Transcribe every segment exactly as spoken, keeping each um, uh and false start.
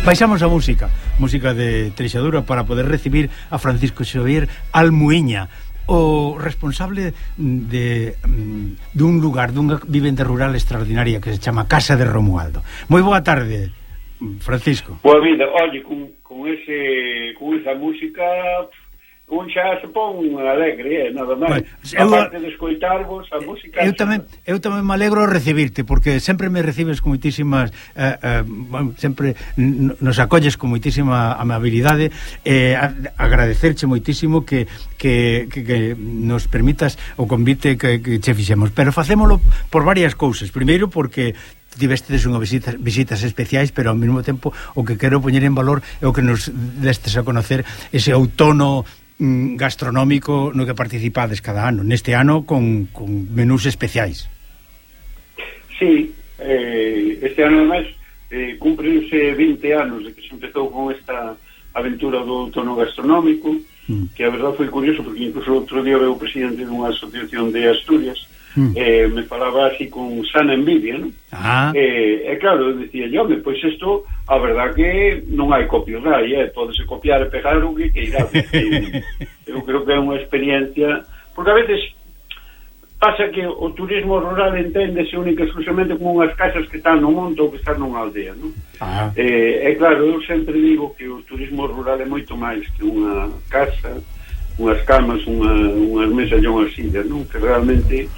Baixamos a música, música de Treixadura para poder recibir a Francisco Xavier Almuíña, o responsable de dun lugar, dunha vivenda rural extraordinaria que se chama Casa de Romualdo. Moi boa tarde, Francisco. Boa vida, oye, con, con, ese, con esa música un xa se pon alegre, eh, nada máis. Bueno, aparte de escoitarvos a música. Eu tamén, eu tamén me alegro recibirte, porque sempre me recibes con moitísimas eh, eh, bueno, sempre nos acolles con moitísima amabilidade, eh, agradecerche moitísimo que, que, que, que nos permitas o convite que, que che fixemos, pero facémolo por varias cousas. Primeiro porque tivestes unha visitas, visitas especiais, pero ao mesmo tempo o que quero poñer en valor é o que nos destes a conocer ese outono gastronómico no que participades cada ano, neste ano con, con menús especiais. Sí, eh, este ano además eh, cúmprense vinte anos de que se empezou con esta aventura do outono gastronómico, mm. que a verdade foi curioso porque incluso outro día veo o presidente dunha asociación de Asturias mm. eh, me falaba así con sana envidia, ¿no? Ah. Eh, e claro, decía yo, pois pues isto a verdad que non hai copyright, eh? Pódese copiar e pegar o que queira. Eu creo que é unha experiencia, porque a veces pasa que o turismo rural enténdese única e exclusivamente como unhas casas que están no monte ou que están nunha aldea, non? Ah. Eh, e claro, eu sempre digo que o turismo rural é moito máis que unha casa, unhas camas, unha, unhas mesas e unhas sillas, non? Que realmente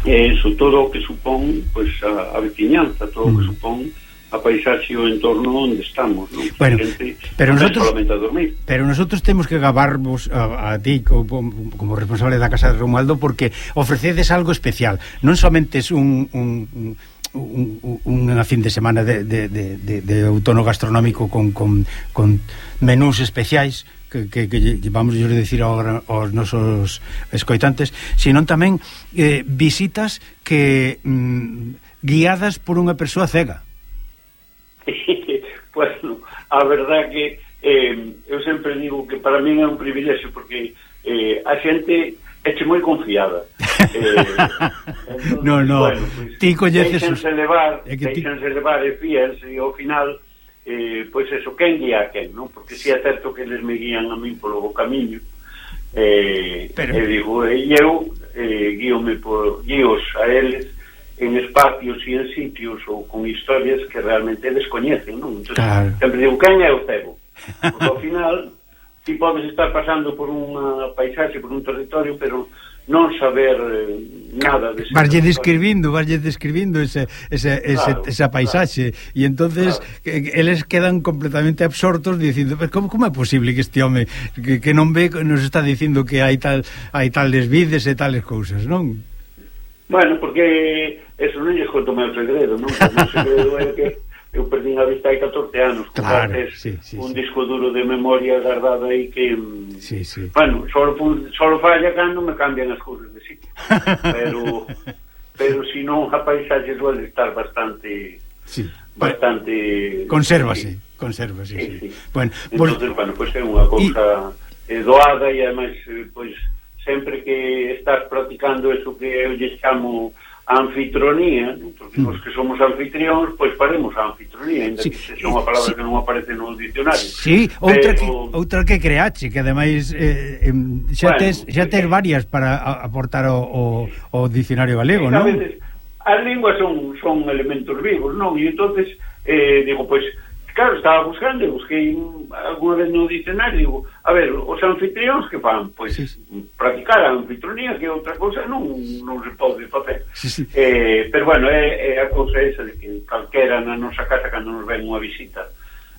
é eso, todo o que supón pues, a, a veciñanza, todo o que supón a paisaxe e o entorno onde estamos, non? Bueno, gente, pero nosotros solamente a dormir. Pero nosotros temos que gabarvos a, a ti como, como responsable da Casa de Romualdo, porque ofrecedes algo especial. Non somente es un, un, un, unha fin de semana de, de, de, de, de outono gastronómico con, con, con menús especiais que, que, que vamos a decir agora aos nosos escoitantes, sino tamén eh, visitas que mm, guiadas por unha persoa cega. Bueno, a verdad que eh, eu sempre digo que para mí é un privilexio porque eh, a xente eche moi confiada. Eh, entonces, no, no, bueno, pues, ti coñeces deixense levar, é que deixense ti... levar e fíense e ao final eh, pois pues eso, quen guía a quen, non? Porque si é certo que eles me guían a min polo camiño eh, Pero... e digo, e eu eh, guíome por guíos a eles en espacios e en sitios ou con historias que realmente descoñecen, non? Entón, claro. Sempre digo, quen é o cego? Porque ao final ti podes estar pasando por unha paisaxe, por un territorio, pero non saber eh, nada de ese varlle describindo, varlle describindo ese, ese, ese, claro, esa paisaxe claro. E entonces claro. que, eles quedan completamente absortos dicindo, pero como, como é posible que este home que, que non ve, nos está dicindo que hai tal hai tales vides e tales cousas, non? Bueno, porque eso non lles conto meu segredo, non? O meu segredo é que eu perdín a vista hai catorce anos. Claro, sí, sí, un sí. disco duro de memoria guardado aí que... Sí, sí. Bueno, solo, solo falla cando me cambian as cousas de sitio. Pero, pero si non, a paisaxe suele estar bastante... Sí. Bastante... Consérvase, sí. consérvase, sí. sí. sí. Bueno, entonces, pues, bueno, pois pues é unha cousa y... doada e ademais, pois... Pues, sempre que estás practicando eso que eu lle chamo anfitronía, ¿no? Porque mm. os que somos anfitrións, pois faremos a anfitronía, ainda sí. que sexa unha palabra sí. que non aparece no diccionario. Sí, outra, pero... que, outra que creache, que ademais eh, xa, bueno, tes, xa tes varias para aportar o, o, o diccionario galego, non? A veces, as linguas son, son elementos vivos, non? E entonces, eh, digo, pois, claro, estaba buscando, busquei alguna vez no diccionario, digo, a ver, os anfitrións que fan? Pois sí, sí. practicar a anfitronía, que outra cousa non, non se pode facer. Sí, sí. Eh, pero bueno, é, é a cousa esa de que calquera na nosa casa, cando nos ven unha visita,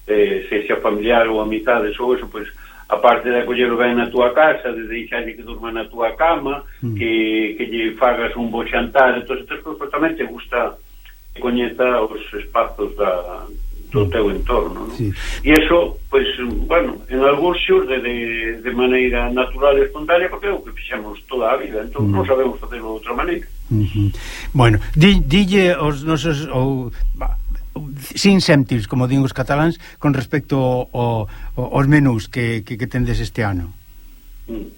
eh, sexa familiar ou amizades ou eso, pois, aparte de acollelo ben na túa casa, de deixarlle que durma na túa cama, mm. que, que lle fagas un bo xantar, entón, estas cousas tamén te gusta que coñeza os espazos da... do teu entorno, ¿no? Sí. E iso, pois, bueno, en algúns xurde de, de maneira natural e espontánea, porque é o que fixemos toda a vida, entón mm. non sabemos facerlo de outra maneira. Mm-hmm. Bueno, di, dille os nosos ou, sin céntimos, como din os cataláns, con respecto ao, ao, aos menús que, que, que tendes este ano. Mm.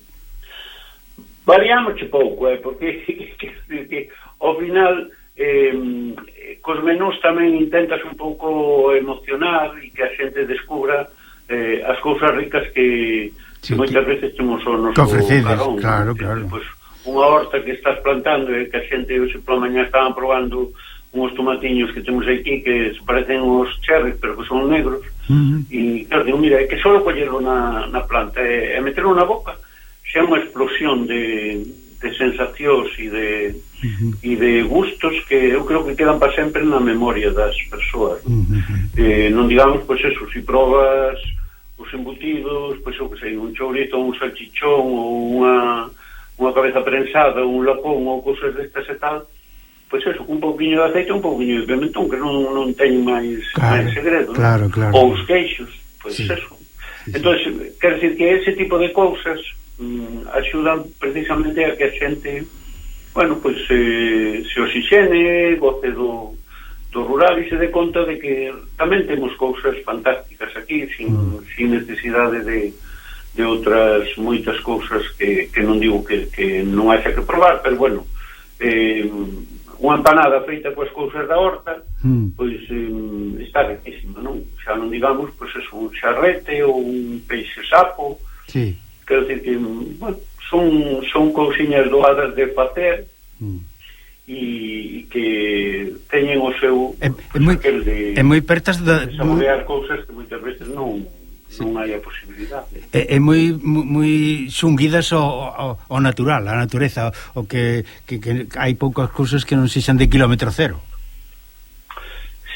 Variámoche pouco, eh, porque que, que, que, ao final eh, cos menús tamén intentas un pouco emocionar e que a xente descubra eh, as cousas ricas que, sí, que moitas que, veces temos o noso carón. Claro, claro. Pues, unha horta que estás plantando e que a xente hoxe pola mañá estaban probando uns tomatiños que temos aquí que se parecen os cherries, pero que son negros. Uh-huh. E claro, digo, mira, é que só collerlo na, na planta e, e meterlo na boca xa é unha explosión de, de sensacións e de, uh-huh. e de gustos que eu creo que quedan para sempre na memoria das persoas. Uh-huh. eh, non digamos, pois eso, se probas os embutidos, pois eu que sei, un chourito, un salchichón ou unha, unha cabeza prensada, un lapón ou cousas destas e tal, pois eso, un pouquinho de aceite, un pouquinho de pimentón, que non, non teñen máis, claro, máis segredo, claro, claro. Ou os queixos, pois sí. eso. Sí, entón, sí. Quer dizer que ese tipo de cousas mm, axudan precisamente a que a xente, bueno, pois eh, se oxixene, goce do, do rural e se dé conta de que tamén temos cousas fantásticas aquí, sin, mm. sin necesidade de, de outras moitas cousas que, que non digo que, que non haxa que probar, pero bueno, eh, unha empanada feita coas cousas da horta, mm. pois eh, está riquísima, non? Xa non digamos, pois é un charrete ou un peixe sapo. Sí. Quero dicir que, bueno, son, son cousiñas doadas de facer mm. e que teñen o seu é, é moi, de, é moi pertas da, de saborear cousas que moitas veces non sí. non hai a posibilidade. É, é moi moi xunguidas ao, ao, ao natural, a natureza, o que, que, que hai poucas cousas que non sexan de kilómetro cero.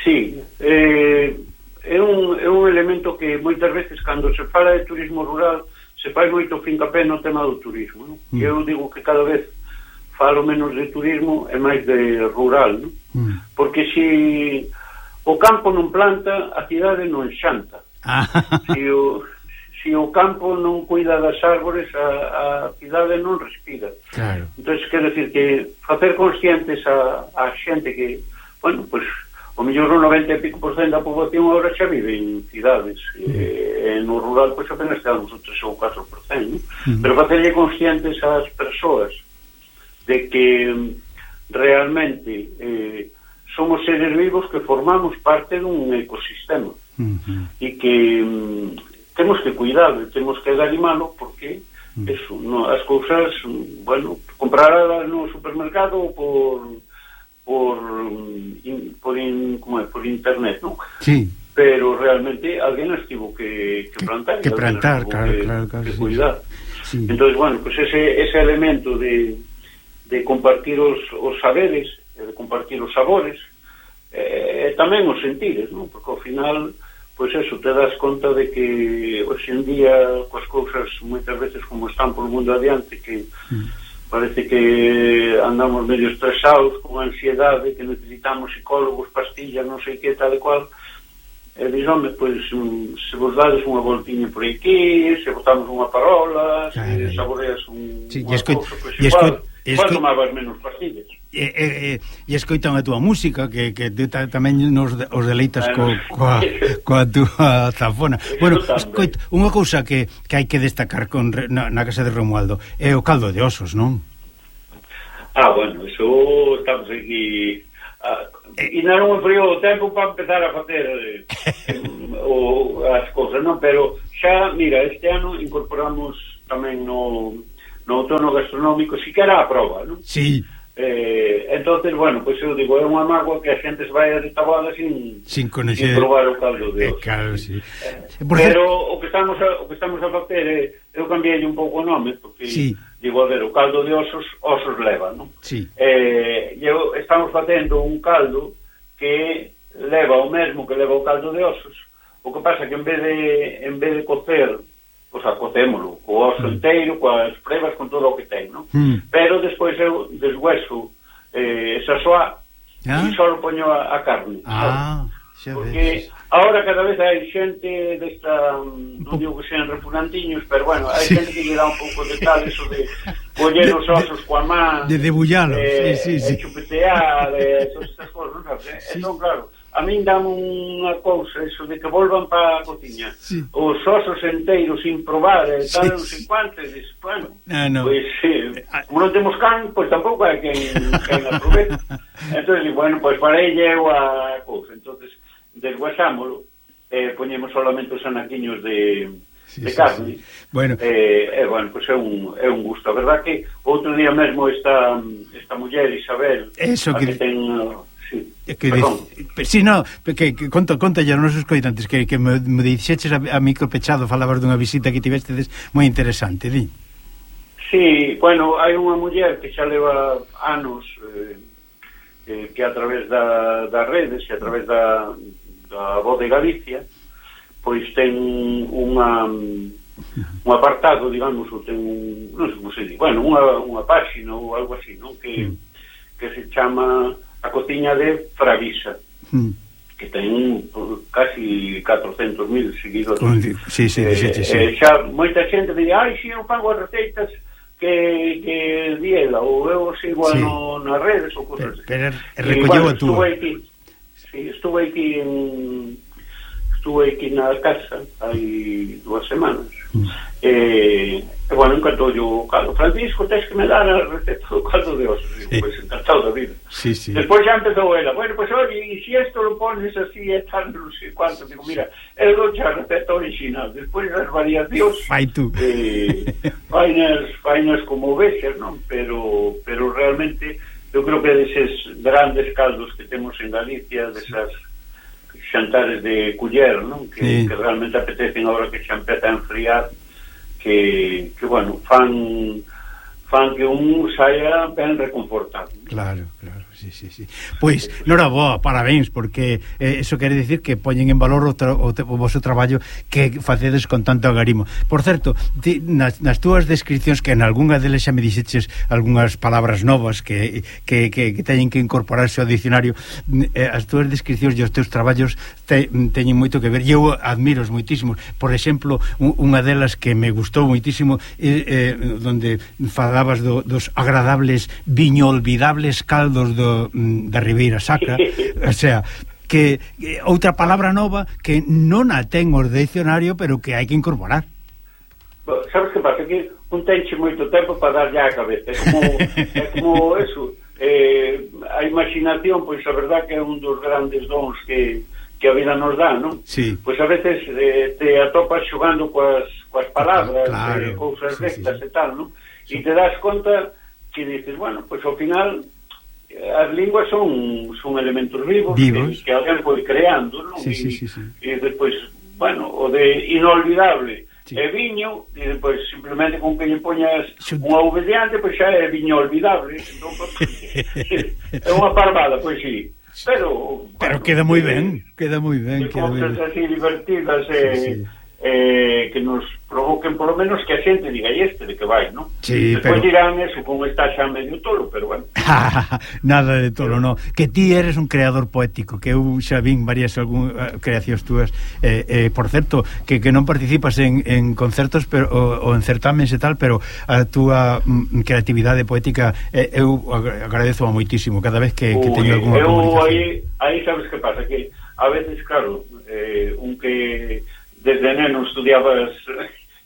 Sí, eh, é un, é un elemento que moitas veces cando se fala de turismo rural se fai moito fincapé no tema do turismo, non? Mm. E eu digo que cada vez falo menos de turismo e máis de rural, non? Mm. Porque se o campo non planta, a cidade non xanta. Ah. Se o, se o campo non cuida das árbores, a, a cidade non respira. Claro. Entón, quero decir que facer conscientes a, a xente que, bueno, pois, o mellor o noventa e pico por cento da poboación agora xa vive en cidades. Mm. E, no rural, pois, apenas quedamos o tres ou catro por cento, ¿no? Mm. Pero facerlle conscientes ás persoas de que realmente eh, somos seres vivos que formamos parte dun ecosistema. Uh-huh. E que um, temos que cuidado, temos que garimalo porque uh-huh. eso, no, as cousas, bueno, comprarlas no supermercado ou por por in, por in, como é, por internet, non? Sí. Pero realmente alguén as tivo que, que plantar, que, que plantar, claro, que, claro, claro, que sí. cuidar. Sí. Entonces, bueno, pues ese ese elemento de de compartir os, os saberes, de compartir os sabores, eh, tamén os sentires, non? Porque ao final, pois eso, te das conta de que hoxe en día coas cousas moitas veces como están por o mundo adiante, que mm. parece que andamos medio estresados, con ansiedade, que necesitamos psicólogos, pastillas, non sei que, tal e cual, e dis, home, pois se vos dades unha voltiña por aquí, se botamos unha parola, se saboreas un, sí, unha escoit, cousa, pois igual, igual escoit, tomabas menos pastillas. E, e, e escoitan a túa música que, que ta, tamén nos os deleitas co, coa, coa túa zafona. Bueno, escoit, unha cousa que, que hai que destacar con, na, na casa de Romualdo é o caldo de osos, non? Ah, bueno, eso estamos aquí ah, e non me frío o tempo para empezar a facer eh, o, as cousas, non? Pero xa, mira, este ano incorporamos tamén no, no outono gastronómico, si que era a prova, non? Sí. Eh, entonces, bueno, pois pues eu digo, é unha mágoa que a xente se vai de taboada sin, sin, sin probar o caldo de osos. Eh, claro, sí. eh, pero o que estamos a, o que estamos a facer é, eu cambiei un pouco o nome, porque sí. digo, a ver, o caldo de osos, osos leva, non? Sí. Eh, eu, estamos facendo un caldo que leva o mesmo que leva o caldo de osos, o que pasa que en vez de, en vez de cocer, pois a cocémolo, o oso mm. inteiro, coas prebas, con todo o que ten, non? Mm. Pero despois eu deshueso eh, esa soa ah? e só poño a, a carne. Ah, xa porque ves. Ahora cada vez hai xente desta, non digo que sean repugnantiños, pero bueno, hai sí. xente que lle dá un pouco de tal, eso de coller os osos coa man, de debullarlos, eh, sí, sí, sí. chupetear, eh, todas estas cosas, non sabes? Sí. Entón, claro, a min dá unha cousa eso de que volvan para a cociña, sí. Os osos enteiros sin probar e tal, sí, non sei cuánto, e dices, bueno, ah, no. Pois eh, como non temos can, pois tampouco hai quen, quen aproveche. Entón, bueno, pois para ella eu a cousa, entonces desguasámolo, eh, poñemos solamente os anaquiños de, sí, de sí, carne, sí. Bueno, eh, eh, bueno, pois é un, é un gusto. A verdad que outro día mesmo esta, esta muller Isabel, eso que, que ten... Sí, que dice, si no, que, que conta, conta ya nos escoitantes que, que me, me dixeches a, a micro pechado, falabas dunha visita que tivestedes moi interesante, di. Sí, bueno, hai unha muller que xa leva anos eh, eh, que a través da, das redes e a través da, da Voz de Galicia pois ten unha un apartado, digamos, ou ten un, non sei como se di, bueno, unha, unha páxina ou algo así, non? Que, mm. que se chama A Cociña de Fravisa, mm. que ten casi catrocentos mil seguidores. Sí, sí, eh, sí, sí. Eh, xa moita xente di, ai, si eu fago as receitas que, que di ela, ou eu sigo sí. no, nas redes ou cosas así. Pero, pero recolleu bueno, a túa. Estuve aquí, sí, estuve aquí en... Estuve aquí na casa hai dúas semanas. Mm. Eh, e, bueno, encantou o caldo. Francisco, tens que me dar a receta do caldo de osos. Sí. Pois, encantado da vida. Sí, sí. Despois xa empezou ela. Bueno, pois, pues, oye, e si esto lo pones así, é tan, non sei cuánto. Digo, mira, eu dou a receta original. Despois as variacións... Fai tú. Eh, fainas, fainas como vexas, non? Pero, pero realmente, eu creo que deses grandes caldos que temos en Galicia, desas... xantares de culler, non? Que, sí. que realmente apetecen agora que xa empeza a enfriar, que, que bueno, fan fan que un saia ben reconfortado. Claro, claro, sí, sí, sí. Pois, noraboa, parabéns, porque eh, eso quere dicir que poñen en valor o, tra o, o vosso traballo que facedes con tanto agarimo. Por certo, ti, nas, nas túas descripcións, que en algunha deles xa me dixeches algunhas palabras novas que, que, que, que teñen que incorporarse ao dicionario, eh, as túas descripcións e os teus traballos te, teñen moito que ver, e eu admiros moitísimo. Por exemplo, un, unha delas que me gustou moitísimo, eh, eh, donde falabas do, dos agradables viño olvidables caldos do, da Ribeira Sacra, o sea, que eh, outra palabra nova que non a ten o dicionario, pero que hai que incorporar. Bueno, sabes que pasa? Que un tenche moito tempo para darlle a cabeza, é como, é como eso, eh, a imaginación, pois a verdad que é un dos grandes dons que, que a vida nos dá, non? Sí. Pois a veces eh, te atopas xogando coas, coas palabras, claro, eh, cousas rectas, sí, sí, e tal, non? E sí. Te das conta que dices, bueno, pois ao final as linguas son son elementos vivos, vivos. Que, que alguén foi creando, non? Sí, e, sí, sí, sí. E despois, bueno, o de inolvidable, sí, é viño, e despois simplemente con que lle poñas unha V diante, pois xa é viño olvidable. Entón, é unha parvada, pois sí. Pero, pero bueno, queda moi ben, queda moi ben, queda moi ben. Así divertidas e eh, sí, sí. Eh, que nos provoquen polo menos que a xente diga e este de que vai, non? Sí, despois pero... dirán eso, como está xa medio tolo, pero bueno. Nada de tolo, pero... no. Que ti eres un creador poético, que eu xa vin varias algún, uh, creacións túas, eh, eh, por certo, que, que non participas en, en concertos pero, o, o en certámenes e tal, pero a túa mm, creatividade poética eh, eu agradezo a moitísimo cada vez que, que teño algunha comunicación. Aí, aí sabes que pasa, que a veces, claro, eh, un que desde neno estudiabas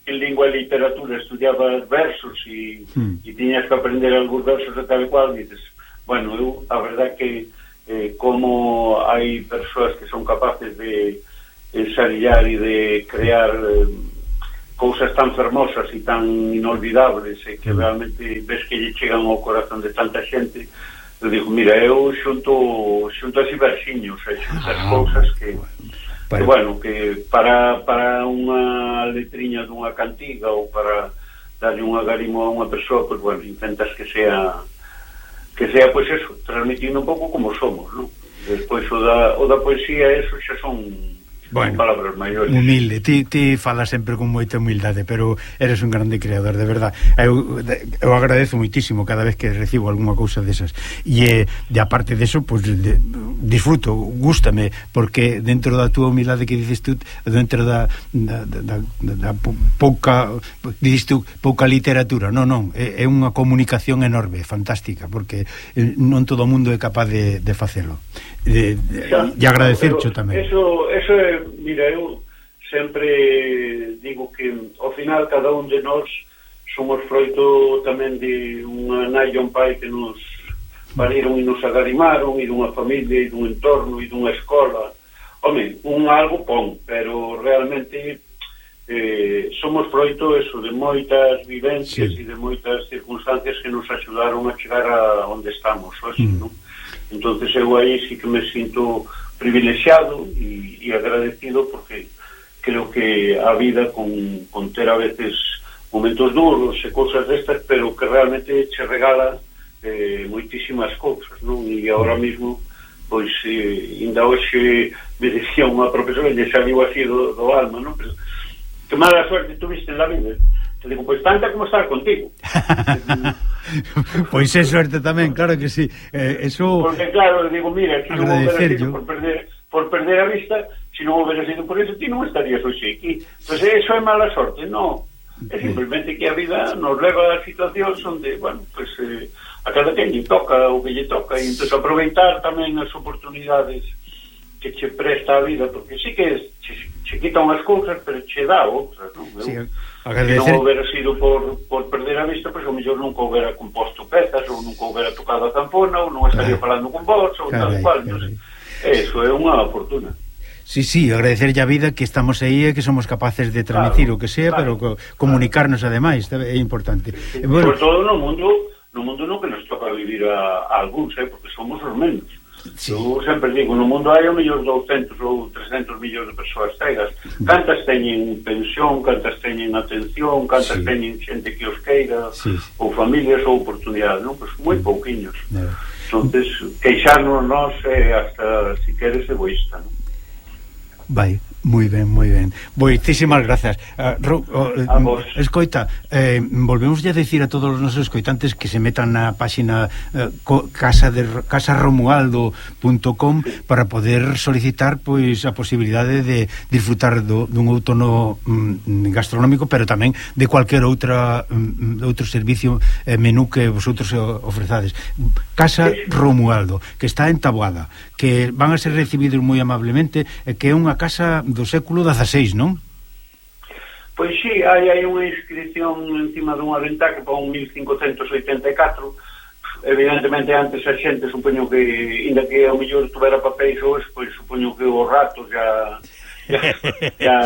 en lingua e literatura, estudiabas versos e, hmm. e tiñas que aprender algúns versos de tal e cual, e dices, bueno, eu, a verdad que eh, como hai persoas que son capaces de ensayar e de crear eh, cousas tan fermosas e tan inolvidables e que hmm. realmente ves que lle chegan ao corazón de tanta xente, eu digo, mira, eu xunto xunto así versiños, e xuntas ah, cousas que... Que, bueno, que para, para unha letriña dunha cantiga ou para darlle un agarimo a unha persoa, pois, bueno, intentas que sea que sea, pois, eso, transmitindo un pouco como somos, non? Despois o da, o da poesía, eso xa son Bueno, palabras maiores. Humilde, ti, ti falas sempre con moita humildade, pero eres un grande creador, de verdad. Eu, eu agradezo moitísimo cada vez que recibo algunha cousa desas. E, de aparte deso, pues, de, disfruto, gústame, porque dentro da túa humildade que dices tú, dentro da, da, da, da, da pouca, dices tú, pouca literatura, non, non, é, é unha comunicación enorme, fantástica, porque non todo o mundo é capaz de, de facelo. De, de, xa, e agradecercho tamén. Eso, eso é, mira, eu sempre digo que ao final cada un de nós somos froito tamén de unha nai e un pai que nos pariron e nos agarimaron, e dunha familia, e dun entorno, e dunha escola. Home, un algo pon, pero realmente eh, somos froito eso, de moitas vivencias sí. e de moitas circunstancias que nos axudaron a chegar a onde estamos, así, mm. non? Entonces eu aí sí que me sinto privilexiado e, e agradecido, porque creo que a vida con, con ter a veces momentos duros e cousas destas, pero que realmente che regala eh, moitísimas cousas, non? E agora mesmo pois eh, ainda hoxe me decía unha profesora e saliu así do, do alma, non? Pero que mala suerte tuviste en la vida. Te digo, pois tanta como estar contigo. Pois é suerte tamén, claro que sí. Eh, eso... Porque claro, digo, mira, se non houbera sido por perder, por perder a vista, se non houbera sido por eso, ti non estarías hoxe aquí. Pois eso é mala sorte, non. É simplemente que a vida nos leva a situacións onde, bueno, pois eh, a cada quen lle toca o que lle toca, e entón aproveitar tamén as oportunidades que che presta a vida, porque sí que che, che quita unhas cousas, pero che dá outras, non? Sí, agradecer... Se non houbera sido por, por perder a vista, pois o mellor nunca houbera composto pezas, ou nunca houbera tocado a zampona, ou non estaría falando con vos, ou tal cual. Entonces, eso é unha fortuna. Sí, sí, agradecerlle a vida que estamos aí e que somos capaces de transmitir claro, o que sea, claro, pero comunicarnos claro. Ademais, é importante. Sí, sí. Bueno, sobre todo no mundo, no mundo no que nos toca vivir a, a algúns, eh, porque somos os menos. Sí. Eu sempre digo, no mundo hai o mellor douscentos ou trescentos millóns de persoas cegas. Cantas teñen pensión, cantas teñen atención, cantas sí. teñen xente que os queira, sí. ou familias ou oportunidades, non? Pois moi pouquiños. No. Entonces, queixarnos nós é hasta, si queres, egoísta, non? Vai, moi ben, moi ben. Moitísimas grazas. Uh, ro, uh, uh, escoita, eh, volvemos a decir a todos os nosos escoitantes que se metan na páxina uh, casa de casa romualdo punto com para poder solicitar pois a posibilidade de disfrutar do, dun outono um, gastronómico, pero tamén de cualquier outra um, outro servicio eh, menú que vosotros ofrezades. Casa Romualdo, que está en Taboada, que van a ser recibidos moi amablemente, eh, que é unha casa do século dezaseis, non? Pois sí, hai, hai unha inscripción encima dunha ventá que pon mil cincocentos oitenta e catro. Evidentemente antes a xente supoño que, inda que ao mellor tuvera papéis ou eso, pois supoño que os ratos já já, já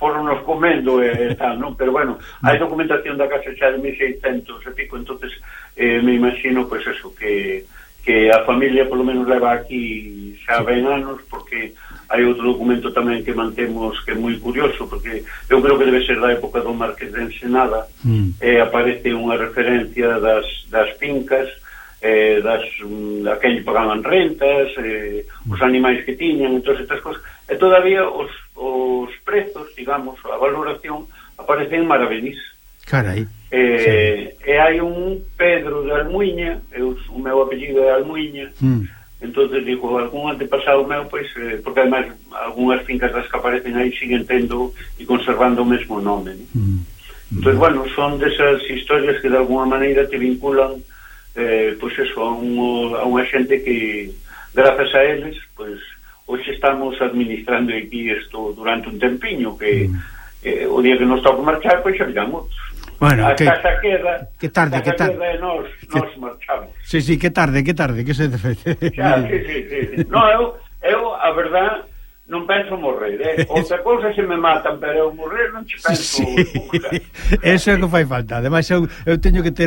foron nos comendo e tal, non? Pero bueno, hai documentación da casa xa de mil seiscentos e pico, entonces eh, me imagino pois eso, que que a familia polo menos leva aquí xa ben anos, porque hai outro documento tamén que mantemos que é moi curioso, porque eu creo que debe ser da época do Marqués de Ensenada, mm. e aparece unha referencia das, das fincas, eh, das, a quen pagaban rentas, eh, os animais que tiñan, entón estas cosas, e todavía os, os prezos, digamos, a valoración aparece en maravedís. Carai. Eh, sí. E hai un Pedro de Almuiña, eu, o meu apellido é Almuiña, mm. entonces digo, algún antepasado meu, pois, eh, porque además algunhas fincas das que aparecen aí siguen tendo e conservando o mesmo nome, ¿no? Mm. Entón, bueno, son desas historias que de alguna maneira te vinculan eh, pois eso, a, un, a unha xente que grazas a eles, pois hoxe estamos administrando aquí isto durante un tempiño, que mm. eh, o día que nos toca marchar, pois xa viramos. Bueno, a que, casa queda, que tarde, que tarde. Queda e nos, nos marchamos. Sí, sí, que tarde, que tarde, que se defende. Xa, sí, sí, sí. No, eu, eu, a verdad, non penso morrer, eh? Outra cousa se me matan, pero eu morrer non che penso. Sí. Eso é o que fai falta. Ademais, eu, eu teño que ter